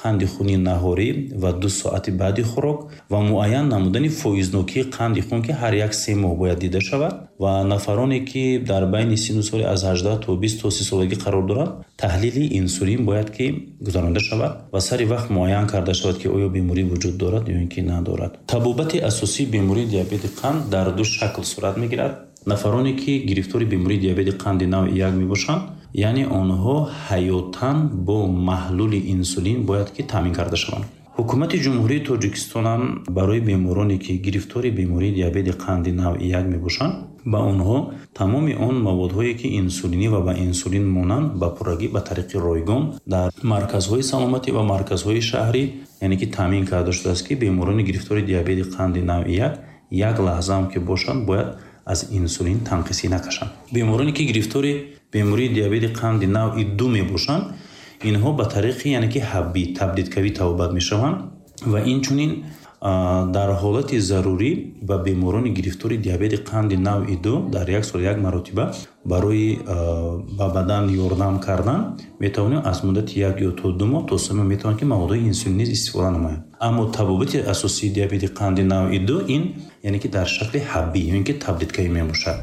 Қанди хуни наҳорӣ ва 2 соати баъди хӯрок ва муайян намудани фоизнокии қанди хун, ки ҳар як 3 моҳ бояд дида шавад ва нафароне, ки дар байни синну соли аз 18 то 20 то 30 солагӣ қарор доранд, таҳлили инсулин бояд ки гузаронида шавад ва сари вақт муайян карда шавад, ки оё беморӣ вуҷуд дорад ё ин ки надорад. Табобати асосии бемории диабети қанд дар 2 шакл сурат мегирад. Нафароне, ки гирифтори бемории диабети қанди навъи 1 мебошанд, яъне онҳо ҳаётан бо маҳлули инсулин бояд ки таъмин карда шаванд. Ҳукумати Ҷумҳурии Тоҷикистон ҳам барои бемороне, ки гирифтори бемории диабети қанди навъи 1 мебошанд, ба онҳо тамоми он маводҳое, ки инсулинӣ ва ба инсулин монанд, ба пуррагӣ ба тариқи ройгон дар марказҳои саломатӣ ва марказҳои шаҳрӣ, яъне ки таъмин карда шудааст, ки беморони гирифтори диабети қанди навъи 1 як лаҳза ҳам ки бошанд, бояд аз инсулин танқисӣ накашанд. Бемороне, ки гирифтори бемории диабети қанди навъи 2 мебошанд, инҳо ба тариқи, яъне ки ҳаббӣ, таблеткавӣ табобат мешаванд ва инчунин дар ҳолати зарурӣ ба беморони гирифтори диабети қанди навъи 2 дар як сол як маротиба барои ба бадан ёрдам кардан метавонем аз муддати 1 ё то 2 моҳ то 3 моҳ метавонем, ки маводҳои инсулинӣ истифода намоем. Аммо табобати асосии диабети қанди навъи 2 ин, яъне ки дар шакли ҳаббӣ ё ин ки таблеткавӣ мебошад.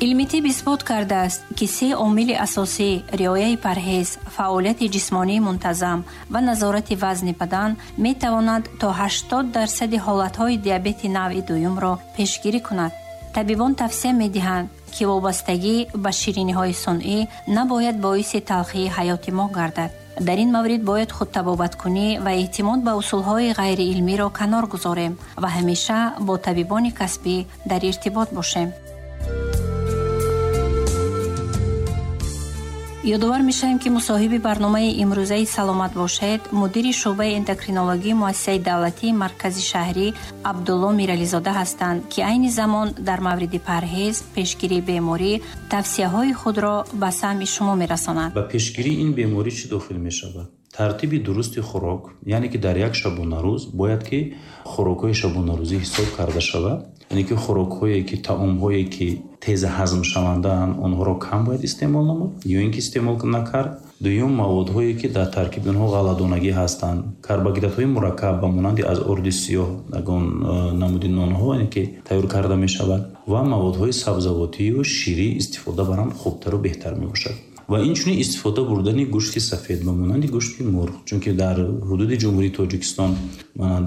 Илми тиб исбот кардааст, ки 3 омили асосӣ риояи парҳез, фаъолияти ҷисмонии мунтазам ва назорати вазни бадан метавонанд то 80% ҳолатҳои диабети навъи дуюмро пешгирӣ кунад. Табибон тавсия медиҳанд, ки вобастагӣ ба шириниҳои сунъӣ набояд боиси талхии ҳаёти мо гардад. Дар ин маврид бояд худтабобаткунӣ ва эътимод ба усулҳои ғайриилмиро канор гузорем ва ҳамеша бо табибони касбӣ дар иртибот бошем. Ёдовар мешавем, ки мусоҳиби барномаи имрӯзаи «Саломат бошед» мудири шӯъбаи эндокринологии муассисаи давлатии маркази шаҳрӣ Абдулло Мирализода ҳастанд, ки айни замон дар мавриди парҳез, пешгирии беморӣ тавсияҳои худро ба самъи шумо мерасонанд. Ба пешгирии ин беморӣ чӣ дохил мешавад? Тартиби дурусти хӯрок, яъне ки дар як шабонарӯз бояд ки хӯрокҳои шабонарӯзӣ ҳисоб карда шавад, яъне ки хӯрокҳое ки таомҳое ки тез ҳазмшавандаанд, онҳоро кам бояд истеъмол намуд ё ин ки истеъмол накард. Дуюм, маводҳое ки дар таркиби онҳо ғалладонагӣ ҳастанд, карбогидратҳои мураккаб ба монанди аз орди сиёҳ ягон намуди нонҳо, яъне ки тайёр карда мешавад, ва маводҳои сабзавотию ширӣ истифода баранд хубтару беҳтар мебошад. Ва инчунин истифода бурдани гӯшти сафед ба монанди гӯшти мурғ, чунки дар ҳудуди Ҷумҳурии Тоҷикистон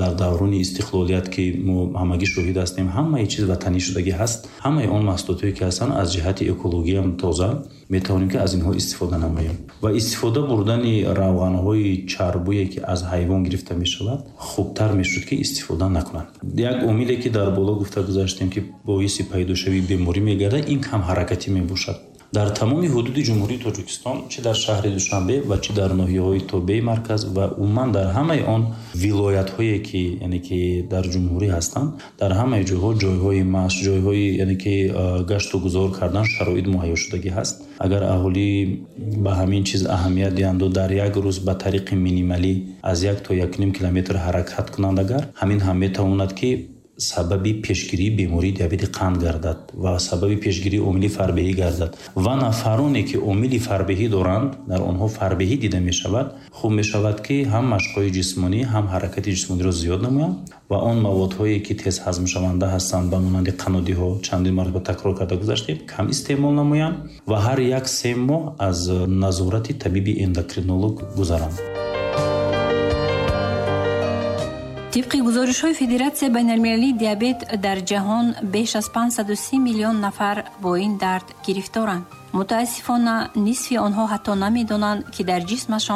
дар даврони истиқлолият, ки мо ҳамагӣ шоҳид ҳастем, ҳамаи чиз ватанӣ шудагӣ ҳаст, ҳамаи он маҳсулотҳое ки ҳастанд аз ҷиҳати экологиям тоза, метавонем ки аз инҳо истифода намоем. Ва истифода бурдани равғанҳои чарбуе ки аз ҳайвон гирифта мешавад, хубтар мешуд ки истифода накунанд. Як омиле ки дар боло гуфта гузаштем, ки боиси пайдошавии беморӣ мегардад, ин камҳаракатӣ мебошад. Дар тамоми ҳудуди Ҷумҳурии Тоҷикистон, чӣ дар шаҳри Душанбе ва чӣ дар ноҳияҳои тобеи марказ ва умуман дар ҳамаи он вилоятҳое ки, яъне ки дар ҷумҳурӣ ҳастанд, дар ҳамаи ҷойҳо ҷойҳои машқ, ҷойҳои, яъне ки гашту гузор кардан шароит муҳайё шудагӣ ҳаст. Агар аҳолӣ ба ҳамин чиз аҳамият диҳанд ва дар як рӯз ба тариқи минималӣ аз 1 то як ним километр ҳаракат кунанд, агар ҳамин ҳам метавонад ки сабаби пешгирии бемории диабети қанд гардад ва сабаби пешгирии омили фарбеҳӣ гардад. Ва нафароне ки омили фарбеҳӣ доранд, дар онҳо фарбеҳӣ дида мешавад, хуб мешавад ки ҳам машқҳои ҷисмонӣ, ҳам ҳаракати ҷисмониро зиёд намоянд ва он маводҳое ки тез ҳазмшаванда ҳастанд, ба монанди қаннодиҳо, чандин маротиба такрор карда гузаштем, кам истеъмол намоянд ва ҳар як 3 моҳ аз назорати табиби эндокринолог гузаранд. Тибқи гузоришҳои Федератсияи байналмилалии диабет дар ҷаҳон беш аз 530 миллион нафар бо ин дард гирифторанд. Мутаассифона, нисфи онҳо ҳатто намедонанд, ки дар ҷисмашон